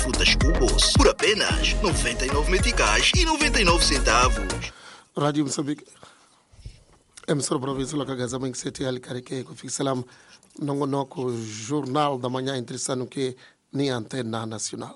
frutas Cubos por apenas 99 meticais e 99 centavos. Radio Moçambique emissora província la Gaza mangiseti ya likarike ku fikisela nongonoko Jornal da Manhã interessando que ni antena nacional.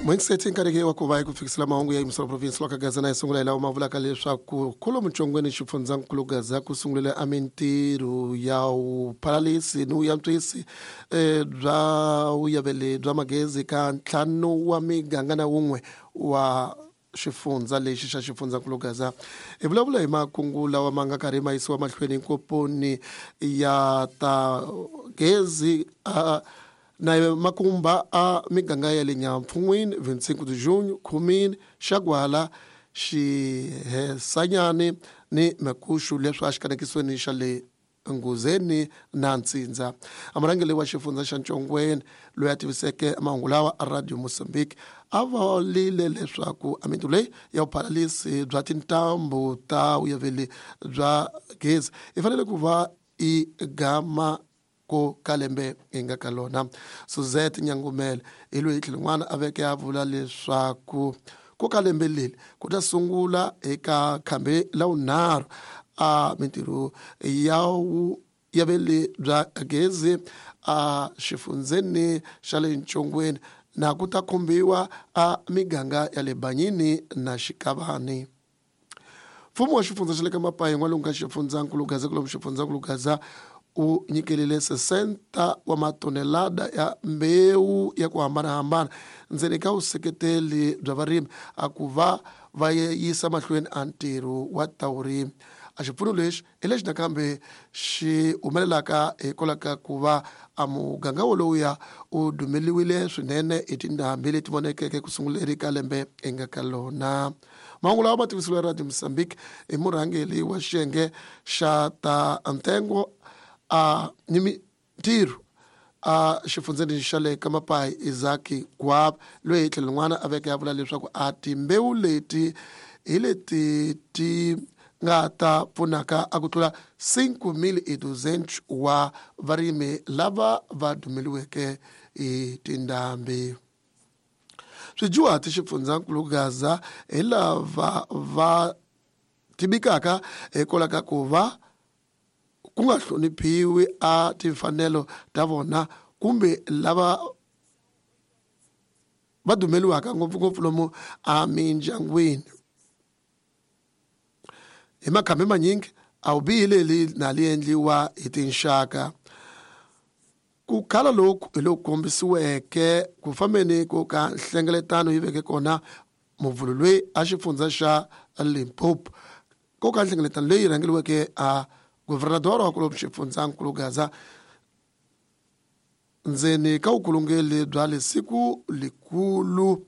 Mwengiseti nkarhi wa ku va hi ku fikisela mahungu ya emissora province la Gaza na sungula hi lawa ma vulaka leswaku kholo muchongweni xifundzankulu Gaza ku sungulile a mintirho ya vuphalalisi ni vuyantswisi bya vuyaveli bya magezi ka ntlhanu wa miganga na wun'we wa xifundza lexi xa xifundzankulu Gaza. Hi vulavula hi makungu lawa ma nga karhi ma yisiwa mahlweni hinkoponi ya ta gezi na makumba a miganga ya le Nyampfun'wini, 25 de junho, Khumini, Xagwala, Xihesanyani ni Makuxu leswi a xikanekisweni xa le Nguzeni na Ntsindza. A murhangeri wa xifundza xa Ntshongweni loyi a tiviseke mahungu lawa a Radio Mozambique a vulile leswaku a mintirho leyi ya vuphalalisi bya tintambu ta vuyaveli bya gezi yi fanele ku va i gama ko ka lembe hi nga ka lona. Suzette Nyangumele hi loyi tlhelo n'wana a veke a vula leswaku ko ka lembe leri ku ta sungula eka khambi la vunharhu a mintirho ya vuyaveli bya gezi a xifundzeni xa le Ntshongweni na ku ta khumbiwa a miganga ya le Banyini na Xikavani. Mfumo wa xifundza xa le ka Mapayi n'walungu ka xifundzankulu Gaza kulomu xifundzankulu Gaza u nyikelile 60 wa matonelada ya mbewu ya ku hambanahambana ndzeni ka vuseketeli bya varimi a ku va va yisa mahlweni a ntirho wa ta vurimi. A xipfuno lexi hi lexi nakambe xi humelelaka hikwalaho ka ku va a muganga wolowuya u dumeliwile swinene hi tindhambi leti vonekeke ku sunguleni ka lembe hi nga ka lona. Mahungu lawa ma tivisiwe Radio Mozambique hi murhangeri wa xiyenge xa ta ntengo a ni mintirho a xifundzeni xa le ka Mapayi Isaac Gwaba loyi hi tlhelo rin'wana a veke a vula leswaku a timbewu leti hi leti ti nga ta pfunaka a ku tlula 5200 wa varimi lava va dumeliweke hi tindhambi. Swijuhati xifundzankulu Gaza hi lava va tibikaka hikwalaho ka ku va ku nga hloniphiwi a timfanelo ta vona kumbe lava va dumeliwaka ngopfungopfu lomu a mindyangwini. Hi makhambi manyingi a wu bihi leli na li endliwa hi tinxaka. Ku khala loku hi loku kombisiweke ku fambeni ko ka nhlengeletano yi veke kona muvhulu loyi a xifundza xa Limpopo. Ko ka nhlengeletano leyi rhangeriweke a governador wa kulomu xifundzankulu Gaza ndzeni ka vukulungeli bya le siku likulu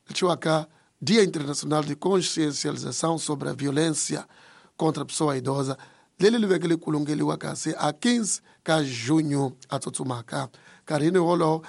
leciwaka Dia Internacional de Consciencialização sobre a Violência contra a Pessoa Idosa leri li veke li kulungeliwa kasi a 15 ka junho a tsutsumaka nkarhini wolowo.